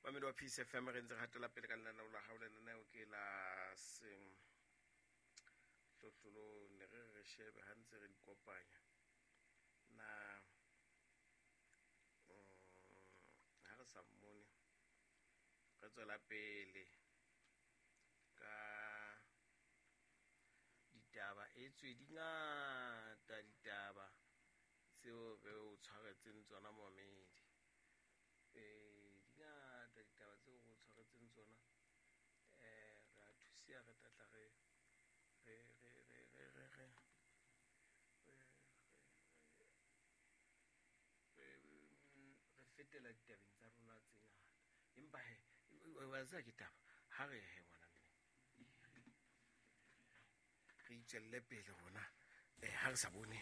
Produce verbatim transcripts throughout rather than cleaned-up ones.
Mamedi wa Peace F M, re ntse re hatela pele ka lenaneo la hao. Lenaneo ke la sehlohlolong, ne re re shebe ha ntse re di kopanya. Na ha re sa mmone, re tswela pele ka ditaba. Etswe di ngata ditaba tseo re o tshwaretseng tsona momedi. Eh di ngata ditaba tseo re o tshwaretseng tsona. Eh re a thusia, re tla tla re re re re re re re re fetela ditabeng tsa rona tse ngata. Empa he wa tseba ke taba ha re he ngwana mme re itswelle pele rona eh ha re sa bone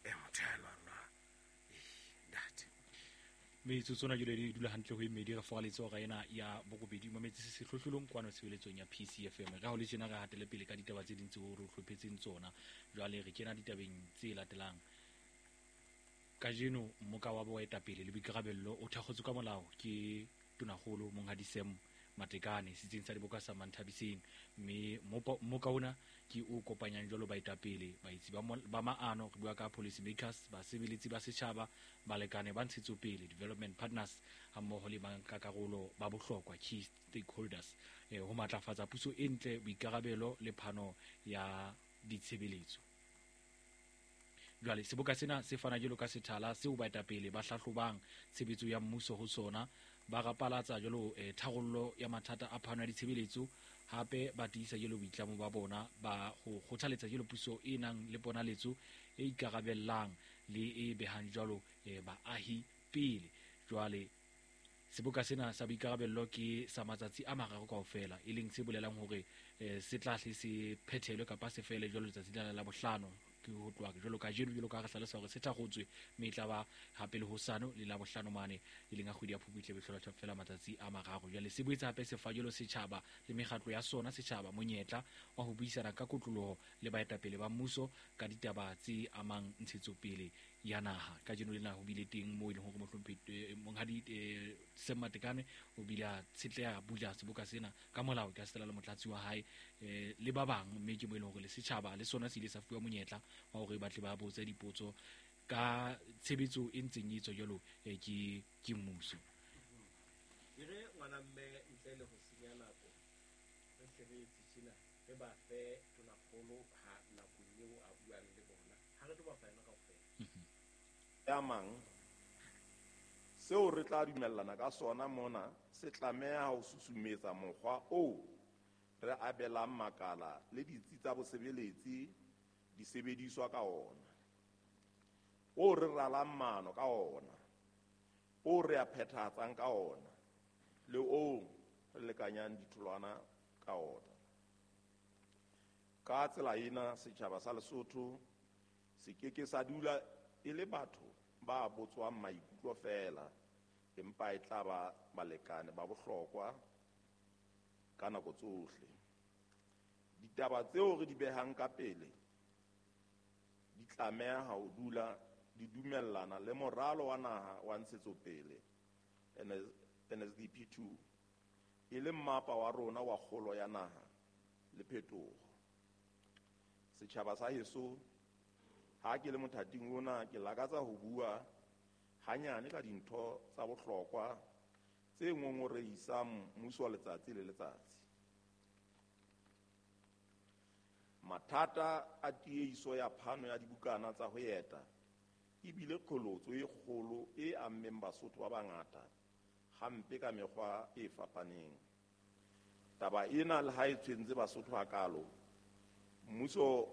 eh motho ya lwanwa eh ntate. Metsotso na jole di dula hantle ho e mmedi re foraletse hora ena ya borobedi mametse se sehlohlolong kwano tshebeletsong ya P C F M. Re ha ho le tjena re hatele pele ka ditaba tse ding tseo re hlophetseng tsona. Jwale re kena ditabeng tse latelang. Kajeno mmoka wa boetapele le boikarabello o thakgotswe ka molao ke Tonakgolo Monghadi Sam Matekane setsing sa diboka sa Manthabiseng, mme mmoka ona ke o kopanyang jwalo baetapele, baetsi ba maano, re bua ka policy makers, basebeletsi ba setjhaba, balekane ba ntshetsopele, development partners, hammoho le bankakarolo ba bohlokwa, key stakeholders, eh, ho matlafatsa puso e ntle, boikarabelo le phano ya ditshebeletso. Jwale seboka sena se fana jwalo ka sethala seo baetapele ba hlahlobang tshebetso ya mmuso ho sona, ba rapalatsa jwalo eh, tharollo ya mathata a phano ya ditshebeletso, hape ba tiisa jwalo boitlamo ba bona ba ho kgothaletsa jwalo puso e nang le ponaletso e ikarabellang le e behang jwalo eh, baahi pele. Jwale seboka sena sa boikarabello ke sa matsatsi a mararo kaofela, e leng se bolelang hore eh, se tla hle se phethelwe kapa se fele jwalo letsatsi lena la bohlano, ke ho tloha jwalo kajeno jwalo ka re hlalosa hore se thakgotswe, mme e tla ba hape le hosane le la bohlano mane e leng a kgwedi ya Phupu e tlebe hlola fela matsatsi a mararo. Jwale se boetse hape se fa jwalo setjhaba le mekgatlo ya sona setjhaba monyetla wa ho buisana ka kotloloho le baetapele ba mmuso ka ditaba tse amang ntshetsopele ya naha. Kajeno lena ho bile teng moo e leng hore mohlomphehi Monghadi Sam Matekane o bile a tshetleha bula seboka sena ka molao ka setela le motlatsi wa hae le ba bang, mme ke mo e leng hore le setjhaba le sona se ile sa fuwa monyetla wa hore ba tle ba botse dipotso ka tshebetso e ntseng e etswa jwalo ke ke mmuso. E re ngwana mme ntle le ho senya nako re hle re etse tjena, re ba fe Tonakgolo ha nakong eo a buang le bona, ha re tlo ba fa yona kaofela. Ya mang seo re tla dumellana ka sona mona se tlameha ho susumetsa mokgwa oo re abelang makala le ditsi tsa bosebeletsi disebediswa ka ona, o re ralang maano ka ona, o re a phethahatsang ka ona, le o re lekanyang ditholwana ka ona. Ka tsela ena setjhaba sa Lesotho se ke ke sa dula e le batho ba botswang maikutlo feela, empa e tla ba balekane ba bohlokwa ka nako tsohle. Ditaba tseo re di behang ka pele di tlameha ho dula di dumellana le moralo wa naha wa ntshetsopele N S D P two, e leng mmapa wa rona wa kgolo ya naha le phetoho. Setjhaba sa heso, ha ke le mothating ona ke lakatsa ho bua hanyane ka dintho tsa bohlokwa tse ngongorehisang mmuso letsatsi le letsatsi. Mathata a tiehiso ya phano ya dibukana tsa ho eta e bile qholotso e kgolo e ammeng Basotho ba bangata hampe ka mekgwa e fapaneng. Taba ena le ha e tshwentse Basotho hakalo, mmuso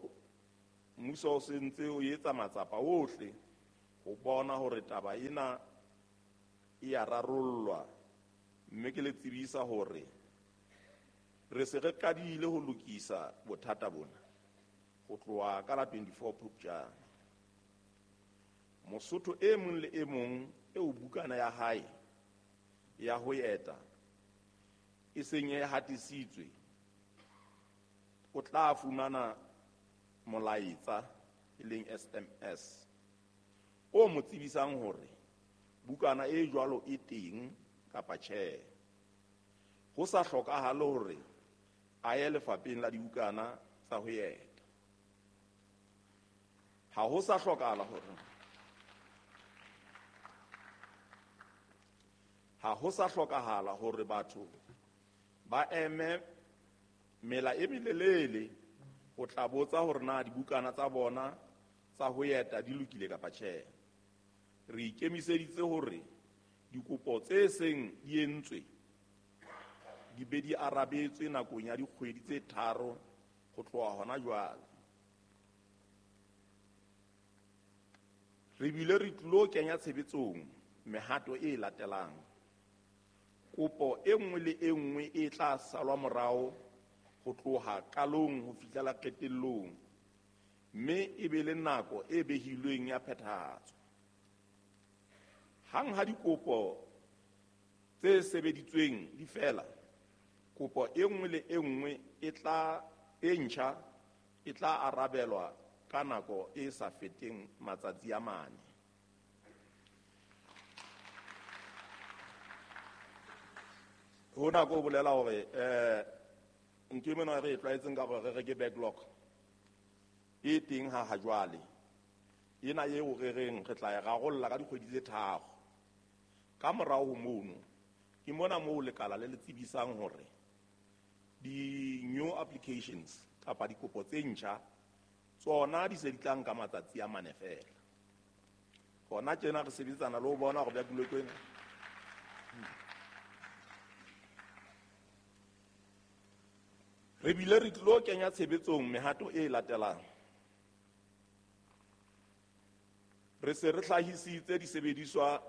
mmuso o sentse o etsa matsapa ohle ho bona hore taba ena e a rarollwa, mme ke le tsebisa hore re se re qadile ho lokisa bothata bona ho tloha ka la twenty-four Phupjane. Mosotho e mong le e mong eo bukana ya hae ya ho eta e seng e hatisitswe o tla fumana molaetsa e leng S M S o mo tsebisang hore bukana e jwalo e teng kapa tjhe. ho sa hlokahale hore a ye lefapheng la dibukana tsa ho eta. Ha ho sa hlokahala hore ha ho sa hlokahala hore batho ba eme mela e melelele ho tla botsa hore na dibukana tsa bona tsa ho eta di lokile kapa tjhe. Re ikemiseditse hore dikopo tse seng di entswe di be di arabetswe nakong ya dikgwedi tse tharo ho tloha hona jwale. Re bile re tlilo kenya tshebetsong mehato e latelang. Kopo e nngwe le e nngwe e tla salwa morao ho tloha qalong ho fihlela qetellong, mme e be le nako e behilweng ya phethahatso. Hang ha dikopo tse sebeditsweng di fela, kopo e nngwe le e nngwe e tla e ntjha e tla arabelwa ka nako e sa feteng matsatsi a mane. Hona ko bolela hore eh ntho e mona re e tlwaetseng ka hore re reke backlog e teng ha ha jwale. Ena eo re reng re tla e rarolla ka dikgwedi tse tharo. Ka morao ho mono ke mona moo lekala le le tsebisang hore di new applications kapa dikopo tse ntjha tsona di se di tla nka matsatsi a mane fela. Hona tjena re sebetsana le ho bona hore backlog ena re bile re tlilo kenya tshebetsong mehato e latelang. Re se re hlahisitse disebediswa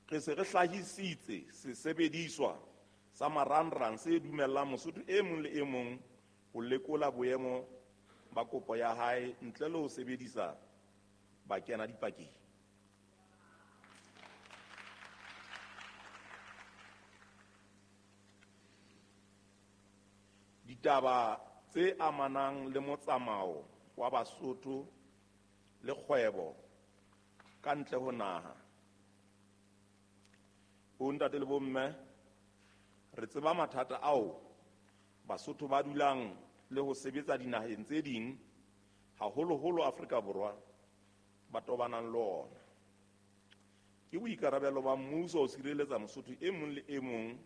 re se re hlahisitse sesebediswa sa marangrang se dumellang Mosotho e mong le e mong ho lekola boemo ba kopo ya hae ntle le ho sebedisa bakena dipakeng. Ditaba tse amanang le motsamao wa Basotho le kgwebo ka ntle ho naha. Bontate le bomme, re tseba mathata ao Basotho ba dulang le ho sebetsa dinaheng tse ding, haholoholo Afrika Borwa, ba tobanang le ona. Ke boikarabelo ba mmuso ho sireletsa Mosotho e mong le e mong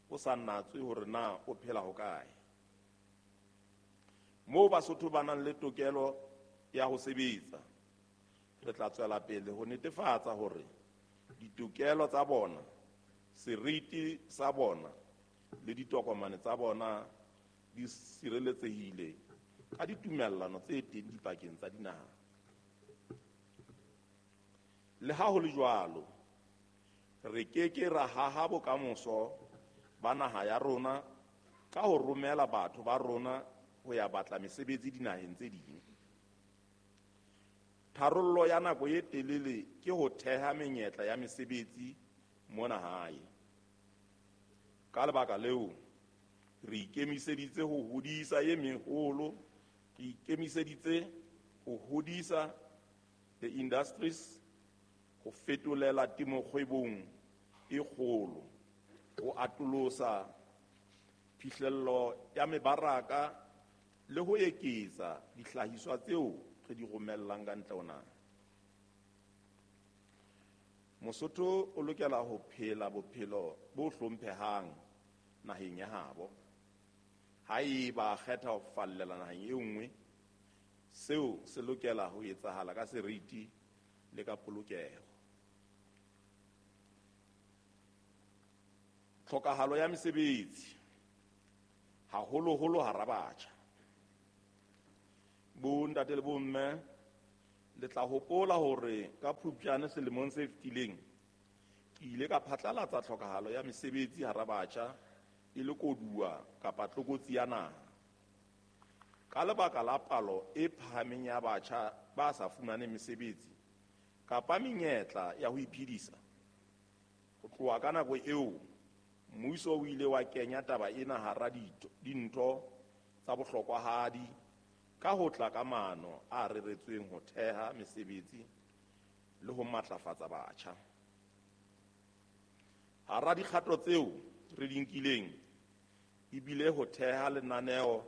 o sa natswe hore na o phela hokae. Moo Basotho ba nang le tokelo ya ho sebetsa, re tla tswela pele ho netefatsa hore ditokelo tsa bona, seriti sa bona le ditokomane tsa bona di sireletsehile ka ditumellano tse teng dipakeng tsa dinaha. Le ha ho le jwalo, re keke ra haha bokamoso ba naha ya rona ka ho romela batho ba rona ho ya batla mesebetsi dinaheng tse ding. Tharollo ya nako e telele ke ho theha menyetla ya mesebetsi mona hae. Ka lebaka leo, re ikemiseditse ho hodisa e meholo, re ikemiseditse ho hodisa the industries, ho fetolela temo kgwebong e kgolo, ho atolosa phihlello ya mebaraka le ho eketsa dihlahiswa tseo re di romellang ka ntle ho naha. Mosotho o lokela ho phela bophelo bo hlomphehang naheng ya habo. Haeba a kgetha ho fallela naheng e nngwe, seo se lokela ho etsahala ka seriti le ka polokeho. Tlhokahalo ya mesebetsi, haholoholo hara batjha. Bontate le bomme, le tla hopola hore ka Phupjane selemong se fetileng ke ile ka phatlalatsa tlhokahalo ya mesebetsi hara batjha e le koduwa kapa tlokotsi ya naha. Ka lebaka la palo e phahameng ya batjha ba sa fumaneng mesebetsi kapa menyetla ya ho iphedisa, ho tloha ka nako eo mmuso o ile wa kenya taba ena hara dintho tsa bohlokwahadi ka ho tla ka maano a reretsweng ho theha mesebetsi le ho matlafatsa batjha. Hara dikgato tseo re di nkileng ebile ho theha lenaneo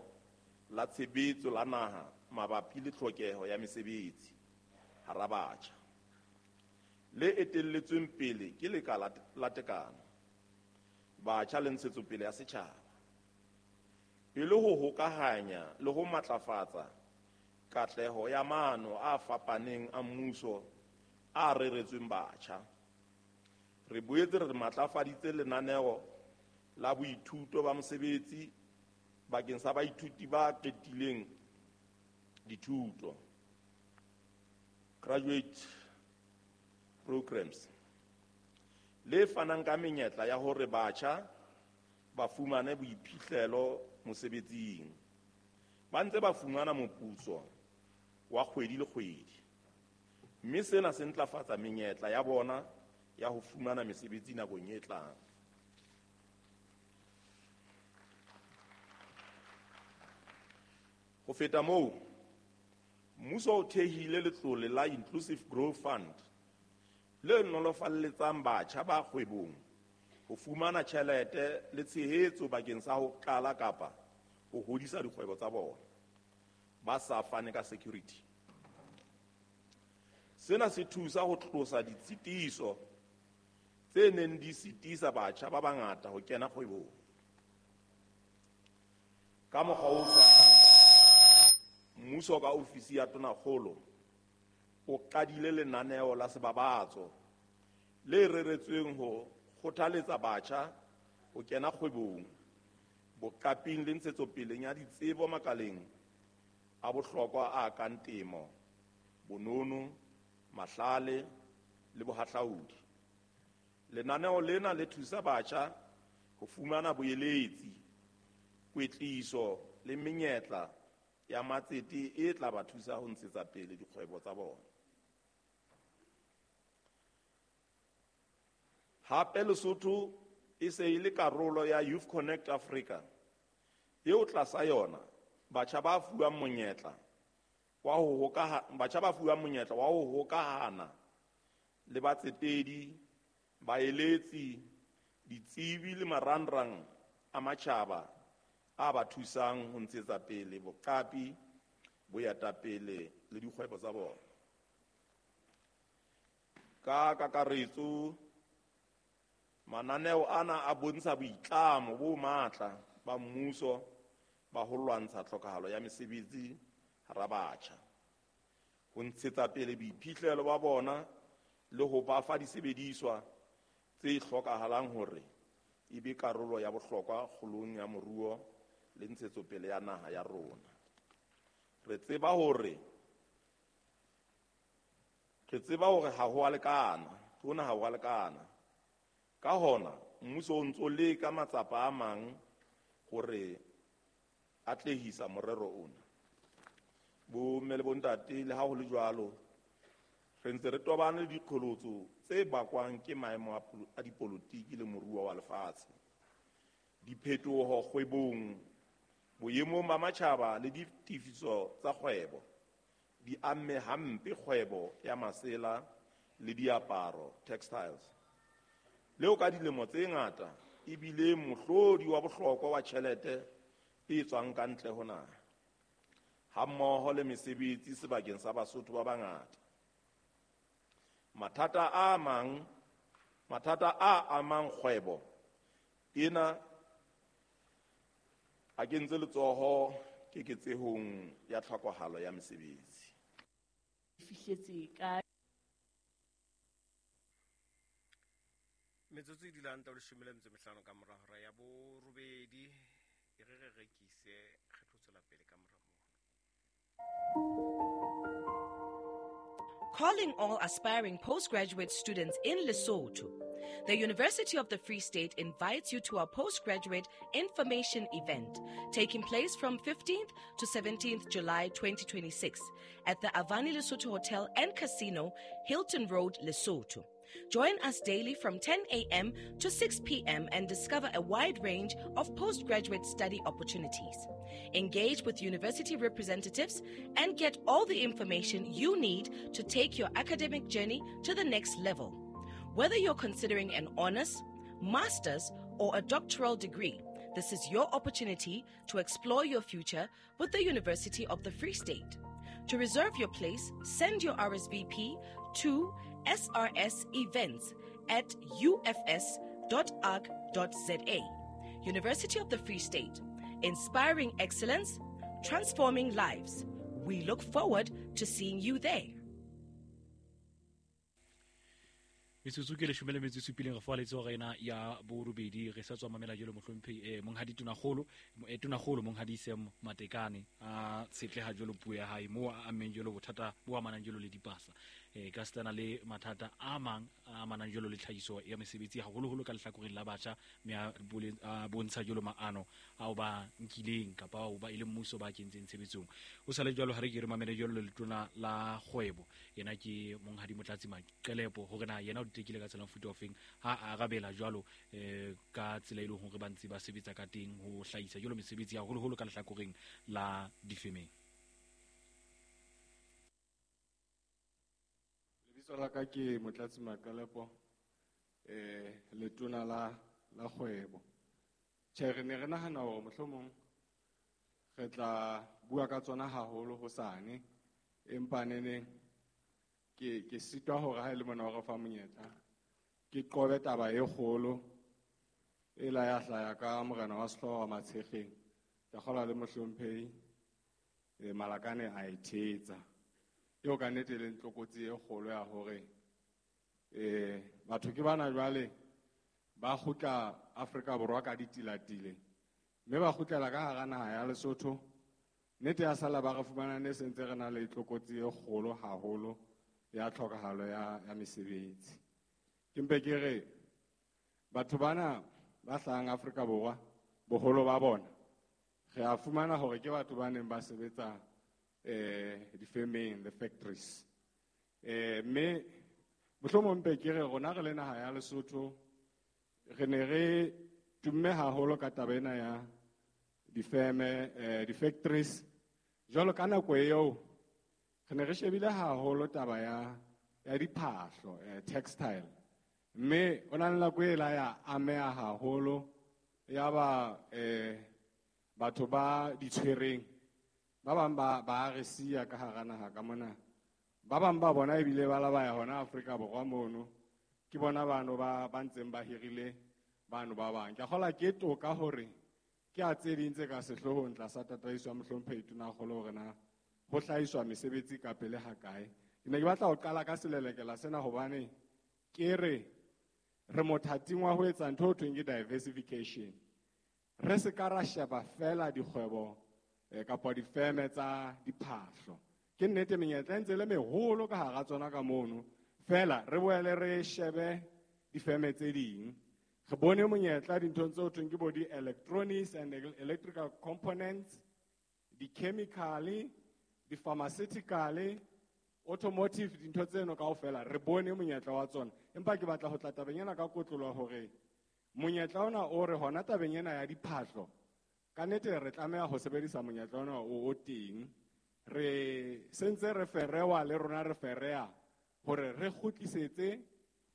la tshebetso la naha mabapi le tlhokeho ya mesebetsi hara batjha, le etelletsweng pele ke Lekala la Tekano, Batjha le Ntshetsopele ya Setjhaba, e le ho hokahanya le ho matlafatsa katleho ya maano a fapaneng a mmuso a reretsweng batjha. Re boetse re matlafaditse lenaneo la boithuto ba mosebetsi bakeng sa baithuti ba qetileng dithuto, graduate programs, le fanang ka menyetla ya hore batjha ba fumane boiphihlelo mosebetsing ba ntse ba fumana moputso wa kgwedi le kgwedi, mme sena se ntlafatsa menyetla ya bona ya ho fumana mesebetsi nakong e tlang. Ho feta moo, mmuso o thehile letlole la Inclusive Growth Fund le nolofalletsang batjha ba kgwebong ho fumana tjhelete le tshehetso bakeng sa ho qala kapa ho hodisa dikgwebo tsa bona ba sa fane ka security. Sena se thusa ho tlosa ditshitiso tse neng di sitisa batjha ba bangata ho kena kgwebong. Ka mokgwa o tshwanang, mmuso ka ofisi ya Tonakgolo o qadile lenaneo la sebabatso le reretsweng ho kgothaletsa batjha ho kena kgwebong, boqaping le ntshetsopeleng ya ditsebo makaleng a bohlokwa a kang temo, bonono, mahlale le bohahlaudi. Lenaneo lena le thusa batjha ho fumana boeletsi, kwetliso le menyetla ya matsete e tla ba thusa ho ntshetsa pele dikgwebo tsa bona. Hape Lesotho e se e le karolo ya Youth Connect Africa, eo tlasa yona batjha ba fuwang monyetla wa ho hokaha batjha ba fuwang monyetla wa ho hokahana le batsetedi, baeletsi, ditsebi le marangrang a matjhaba a ba thusang ho ntshetsa pele boqapi, boetapele le dikgwebo tsa bona. Ka kakaretso, mananeo ana a bontsha boitlamo bo matla ba mmuso ba ho lwantsha tlhokahalo ya mesebetsi hara batjha, ho ntshetsa pele boiphihlelo ba bona le ho ba fa disebediswa tse hlokahalang hore e be karolo ya bohlokwa kgolong ya moruo le ntshetsopele ya naha ya rona. Re tseba hore re tseba hore ha ho a lekana, hona ha ho a lekana. Ka hona, mmuso o ntso leka matsapa a mang hore atlehisa morero ona. Bomme le bontate, le ha ho le jwalo, re ntse re tobane le diqholotso tse bakwang ke maemo a dipolotiki le moruo wa lefatshe, diphetoho kgwebong, boemong ba matjhaba le ditefiso tsa kgwebo di amme hampe kgwebo ya masela le diaparo, textiles, leo ka dilemo tse ngata ebile mohlodi wa bohlokwa wa tjhelete e tswang ka ntle ho naha, hammoho le mesebetsi sebakeng sa Basotho ba bangata. Mathata a mang, mathata a amang kgwebo ena a kentse letsoho keketsehong ya tlhokahalo ya mesebetsi. Fihletse ka metsotso e dulang tsa leshome le metso e mehlano ka mora hora ya borobedi, e re re rekise re tlo tswela pele ka mora moo. Calling all aspiring postgraduate students in Lesotho. The University of the Free State invites you to our postgraduate information event taking place from fifteenth to seventeenth July twenty twenty-six at the Avani Lesotho Hotel and Casino, Hilton Road, Lesotho. Join us daily from ten a.m. to six p.m. and discover a wide range of postgraduate study opportunities. Engage with university representatives and get all the information you need to take your academic journey to the next level. Whether you're considering an honors, master's, or a doctoral degree, this is your opportunity to explore your future with the University of the Free State. To reserve your place, send your R S V P to S R S events at U F S dot org dot Z A. University of the Free State, inspiring excellence, transforming lives. We look forward to seeing you there. Metsotso ke leshome le metso e supileng re foa letsoho rena ya borobedi re sa tswa mamela jalo mohlomphehi eh monghadi Tonakgolo eh Tonakgolo monghadi Sam Matekane a tshetleha jalo puo ya hae mo a ammeng jalo bothata bo amanang jalo le dipasa eh ka stana le mathata a mang a amanang jalo le tlhahiso ya mesebetsi haholoholo ka lehlakoreng la batjha mme a bontsha jalo maano ao ba nkileng kapa ao ba ile mmuso ba kentseng tshebetsong. O sale jalo ha re ke re mamele jalo letona la kgwebo yena ke monghadi Motlatsi Maqelepo hore na yena o tekile ka tsela mofuta ofeng ha a arabela jwalo eh ka tsela e leng hore ba ntse ba sebetsa ka teng ho hlahisa jalo mesebetsi haholoholo ka lehlakoreng la difemeng. Lebitso la ka ke Motlatsi Maqelepo eh letona la la kgwebo. Tjhe, re ne re nahana hore mohlomong re tla bua ka tsona haholo hosane, empa neneng ke ke sitwa hore ha e le mona hore fa monyetla ke qobe taba e kgolo e la ya hlaya ka morena wa sehlooho wa Matshekgeng ka kgola le mohlomphehi e Malakane a e thetsa eo ka nnete e leng tlokotsi e kgolo ya hore eh batho ke bana jwale ba kgutla Afrika Borwa ka ditilatile mme ba kgutlela ka hara naha ya Lesotho. Nnete ya sala ba re fumana ne sentse re na le tlokotsi e kgolo haholo ya tlhokahalo ya ya mesebetsi. Ke mpe ke re batho bana ba hlahang Afrika Borwa boholo ba bona re a fumana hore ke batho ba neng ba sebetsa eh difemeng, the factories. Eh mme mohlomong mpe ke re rona re le naha ya Lesotho re ne re tumme haholo ka taba ena ya difeme eh di-factories. Jwalo ka nako eo re ne re shebile haholo taba ya ya diphahlo, eh, textile. Mme o na le nako e la ya ameha haholo ya ba eh batho ba ditshwereng ba bang ba ba re siya ka hara naha ka mona, ba bang ba bona ebile ba la ba ya hona Afrika Borwa mono ke bona bano ba ba ntseng ba hirile bano ba bang. Ke a kgola ke toka hore ke a tse ding tse ka sehloohong tlasa tataiso ya mohlomphehi Tonakgolo hore na ho hlahiswa mesebetsi ka pele ha kae. Ke ne ke batla ho qala ka selelekela sena hobane ke re re mothating wa ho etsa ntho ho thweng ke diversification. Re se ka ra sheba fela dikgwebo eh, kapa difeme tsa diphahlo. Ke nnete menyetla e ntse le meholo ka hara tsona ka mono, fela re boele re shebe difeme tse ding. Re bone monyetla dinthong tse ho thweng ke bo di-electronics and electrical components, di-chemical, di-pharmaceutical, automotive, dintho tseno kaofela re bone monyetla wa tsona. Empa ke batla ho tla tabeng ena ka kotlolo hore monyetla ona o re hona tabeng ena ya diphahlo ka nnete re tlameha ho sebedisa monyetla ona o o teng. Re sentse re ferewa le rona re fereya hore re kgutlisetse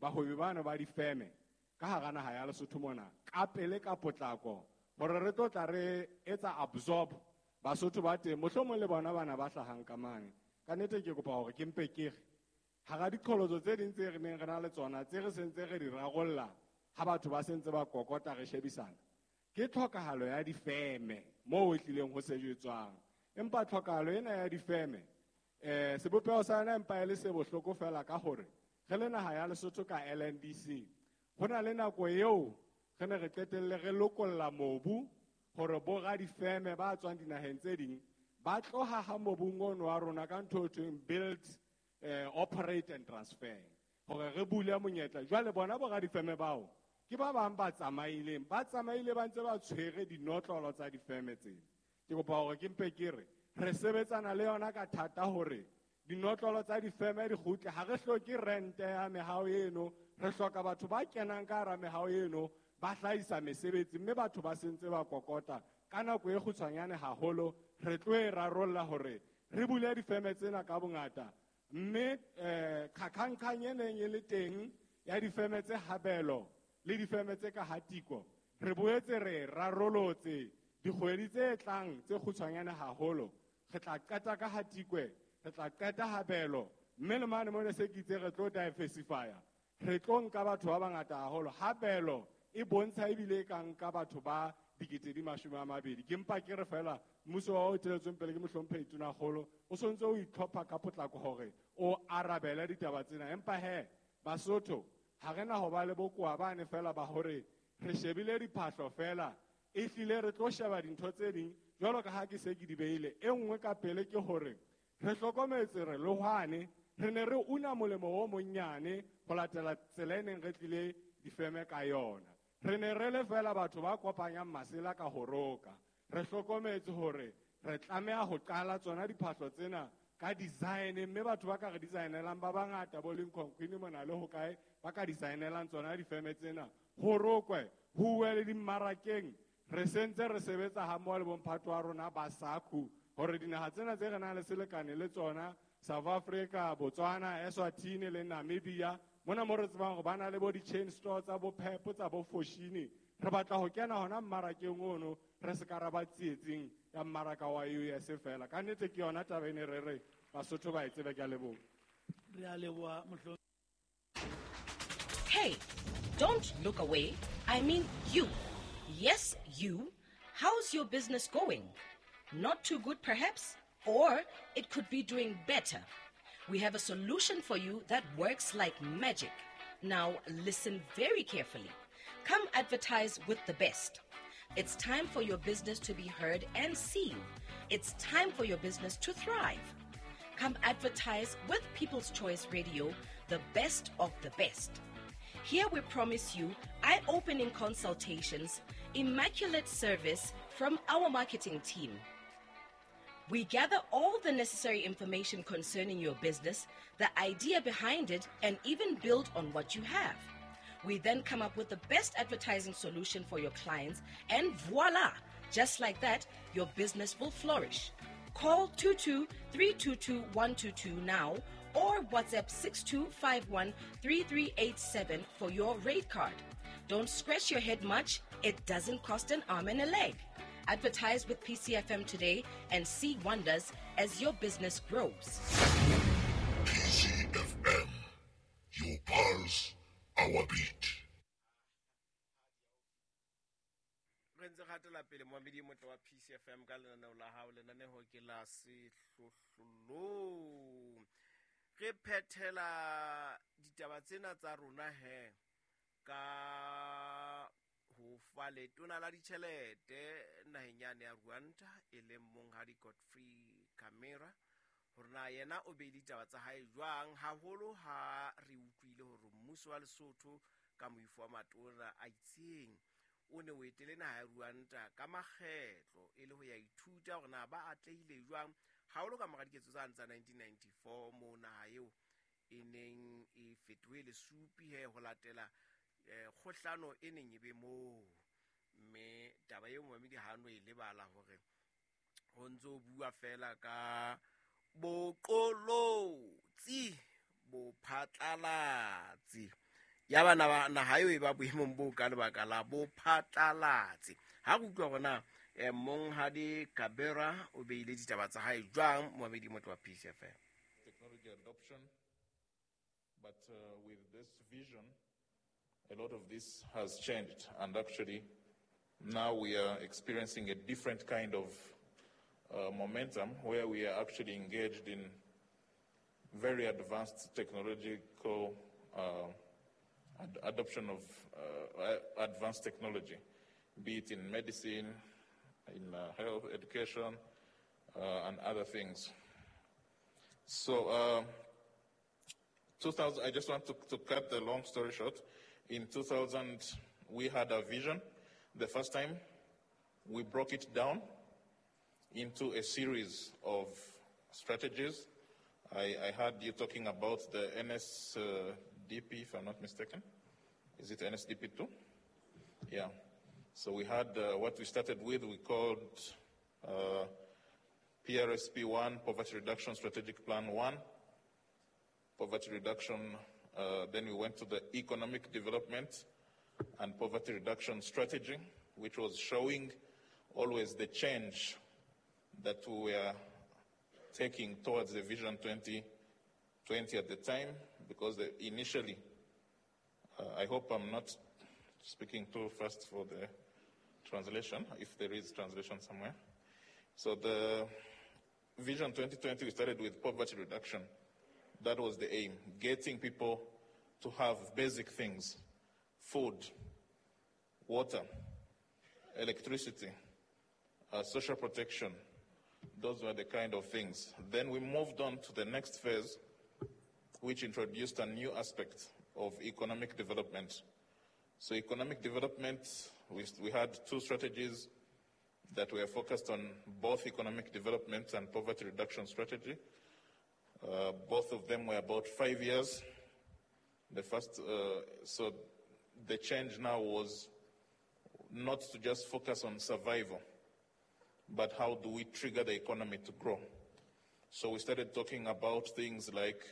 bahwebi bana ba difeme ka hara naha ya Lesotho mona ka pele ka potlako hore re tlo tla re etsa absorb Basotho ba teng mohlomong le bona bana ba hlahang ka mane. Ka nnete ke kopa hore ke mpe ke re hara diqholotso tse ding tse re neng re na le tsona tse re sentse re di rarolla ha batho ba sentse ba kokota re shebisana ke tlhokahalo ya difeme moo e tlileng ho sejetswang. Empa tlhokahalo ena ya difeme eh sebopeho sa yona empa e le se bohloko fela ka hore re le naha ya Lesotho ka L N D C ho na le nako eo re ne re qetelle re lokolla mobu hore bo radifeme ba tswang dinaheng tse ding ba tloha ha mobung ono wa rona ka ntho e thweng build, eh, operate and transfer hore re bule monyetla. Jwale bona bo radifeme bao ke ba bang ba tsamaileng ba tsamaile ba ntse ba tshwere dinotlolo tsa difeme tsena. Ke kopa hore ke mpe ke re re sebetsana le yona ka thata hore dinotlolo tsa difeme di kgutle. Ha re hloke rente ya mehao eno, re hloka batho ba kenang ka hara mehao eno ba hlahisa mesebetsi mme batho ba sentse ba kokota ka nako e kgutshwanyane haholo. Re tlo e rarolla hore re bule difeme tsena ka bongata mme eh kgakgankgang e neng e le teng ya difeme tse habelo le difeme tse ka Hatiko re boetse re rarolotse dikgwedi tse tlang tse kgutshwanyane haholo. Re tla qeta ka Hatikwe, re tla qeta Habelo, mme le mane mona se ke itse re tlo diversifya. Re tlo nka batho ba bangata haholo. Habelo e bontsha ebile e ka nka batho ba dikete di mashome a mabedi. Ke mpa ke re fela mmuso wa o eteletsweng pele ke mohlomphehi Tonakgolo o sontse o itlhopha ka potlako hore o arabele ditaba tsena. Empa he Basotho ha re na ho ba le bokowa bane fela ba hore re shebile diphahlo fela, ehlile re tlo sheba dintho tse ding jwalo ka ha ke se ke di beile. E nngwe ka pele ke hore re hlokometse re lohwane re ne re una molemo o monnyane ho latela tsela e neng re tlile difeme ka yona. Re ne re le fela batho ba kopanyang masela ka ho roka. Re hlokometse hore re tlameha ho qala tsona diphahlo tsena ka design, mme batho ba ka re designelang ba bangata bo Lincoln Queen mona le ho kae ba ka designelang tsona difeme tsena. Ho rokwe, ho uwe le dimmarakeng. Re sentse re sebetsa ha mmoho le bomphato wa rona ba SACU hore dinaha tsena tse re nang le selekane le tsona, South Africa, Botswana, Eswatini le Namibia, mona mo re tsebang hore ba na le bo di-chain store tsa bo Pep, tsa bo Foschini. Re batla ho kena hona mmarakeng ono, re se ka ra ba tsietsing ya mmaraka wa U S fela. Ka nnete ke yona taba e ne re re Basotho ba e tsebe. Ke a leboha. Re a leboha, mohlo- Hey, don't look away. I mean you. Yes, you. How's your business going? Not too good, perhaps? Or it could be doing better. We have a solution for you that works like magic. Now, listen very carefully. Come advertise with the best. It's time for your business to be heard and seen. It's time for your business to thrive. Come advertise with People's Choice Radio, the best of the best. Here we promise you eye-opening consultations, immaculate service from our marketing team. We gather all the necessary information concerning your business, the idea behind it, and even build on what you have. We then come up with the best advertising solution for your clients, and voila! Just like that, your business will flourish. Call two two three two two one two two now or WhatsApp six two five one three three eight seven for your rate card. Don't scratch your head much. It doesn't cost an arm and a leg. Advertise with P C F M today and see wonders as your business grows. P C F M, your pulse, our beat. Re ntse gatela pele moamedi motle wa P C F M ka lenaneo la hao, lenaneo ke la Sehlohlolong. Re phethela ditaba tsena tsa rona he ka ho fa letona la ditjhelete naheng yane ya Rwanda e leng monghadi Godfrey Kamera hore na yena o beile ditaba tsa hae jwang, haholo ha re utlwile hore mmuso wa Lesotho ka moifo wa matona a itseng o ne o etele naha ya Rwanda ka makgetlo e le ho ya ithuta hore na ba atlehile jwang haholo ka mora diketso tsane tsa nineteen ninety-four moo naha eo e neng e fetohe lesupi he ho latela eh kgohlano e neng e be moo. Mme taba eo momamedi ha no e lebala hore ho ntso bua fela ka boqolotsi bophatlalatsi ya bana ba naha eo e ba boemong bo ka lebaka la bophatlalatsi. Ha re utlwa hore na eh, monghadi Kabera o beile ditaba tsa hae jwang, momamedi motle wa P C F M. Technology adoption, but uh, with this vision, a lot of this has changed, and actually now we are experiencing a different kind of uh, momentum where we are actually engaged in very advanced technological uh, ad- adoption of uh, advanced technology, be it in medicine, in uh, health, education, uh, and other things. So, uh, two thousand, I just want to, to cut the long story short. In two thousand, we had a vision. The first time, we broke it down into a series of strategies. I, I heard you talking about the N S D P, if I'm not mistaken. Is it N S D P two? Yeah. So we had uh, what we started with, we called uh, P R S P one, Poverty Reduction Strategic Plan one, Poverty Reduction, uh, then we went to the Economic Development and poverty reduction strategy, which was showing always the change that we were taking towards the Vision twenty twenty at the time, because the, initially, uh, I hope I'm not speaking too fast for the translation, if there is translation somewhere. So the Vision twenty twenty, we started with poverty reduction. That was the aim, getting people to have basic things, food, water, electricity, uh, social protection. Those were the kind of things. Then we moved on to the next phase, which introduced a new aspect of economic development. So economic development, we, we had two strategies that were focused on both economic development and poverty reduction strategy. Uh, both of them were about five years. The first, uh, so the change now was not to just focus on survival, but how do we trigger the economy to grow? So we started talking about things like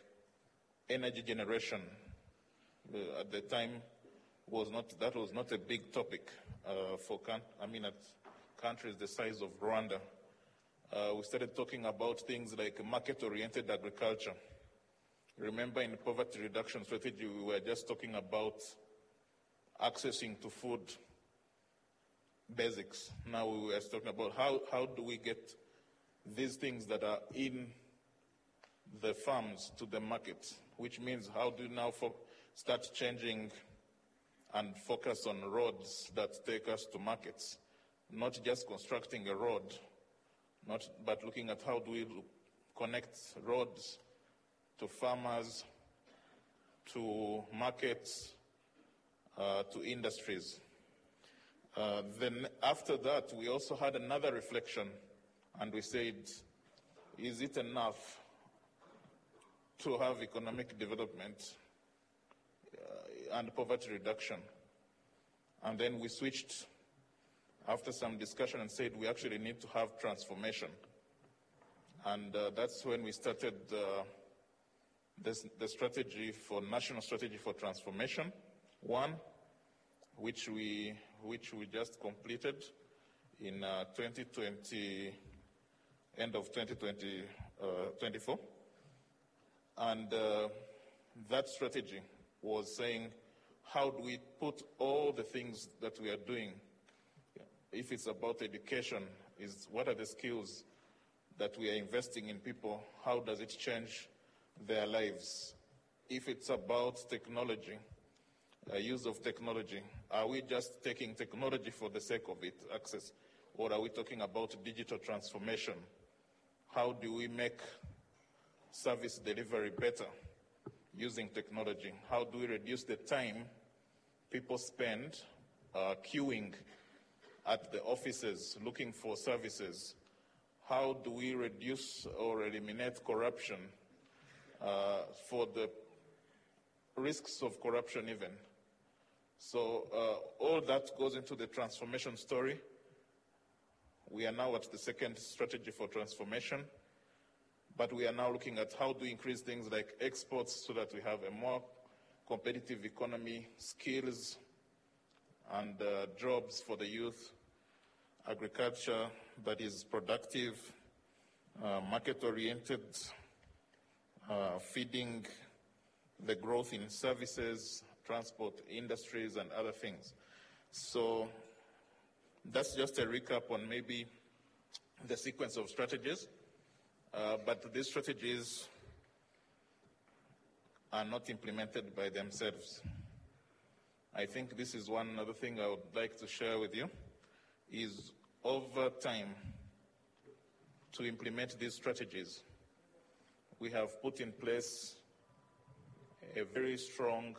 energy generation. Uh, at the time, was not that was not a big topic, uh, for can, I mean, at countries the size of Rwanda. Uh, we started talking about things like market-oriented agriculture. Remember, in the poverty reduction strategy, we were just talking about accessing to food basics. Now we were talking about how, how do we get these things that are in the farms to the market, which means how do you now fo- start changing and focus on roads that take us to markets, not just constructing a road, not, but looking at how do we connect roads to farmers, to markets, uh, to industries. Uh, then after that, we also had another reflection, and we said, is it enough to have economic development, uh, and poverty reduction? And then we switched after some discussion and said we actually need to have transformation. And, uh, that's when we started, uh, this, the strategy for national strategy for transformation, one, which we, which we just completed in, uh, twenty twenty, end of twenty twenty, uh, twenty-four. And, uh, that strategy was saying, how do we put all the things that we are doing? If it's about education, is what are the skills that we are investing in people? How does it change their lives? If it's about technology, uh, use of technology, are we just taking technology for the sake of it, access, or are we talking about digital transformation? How do we make service delivery better using technology? How do we reduce the time people spend, uh, queuing at the offices looking for services? How do we reduce or eliminate corruption, uh, for the risks of corruption even? So, uh, all that goes into the transformation story. We are now at the second strategy for transformation, but we are now looking at how to increase things like exports so that we have a more competitive economy, skills, and, uh, jobs for the youth, agriculture that is productive, uh, market-oriented, uh, feeding the growth in services, transport, industries, and other things. So that's just a recap on maybe the sequence of strategies. Uh, but these strategies are not implemented by themselves. I think this is one other thing I would like to share with you, is over time to implement these strategies, we have put in place a very strong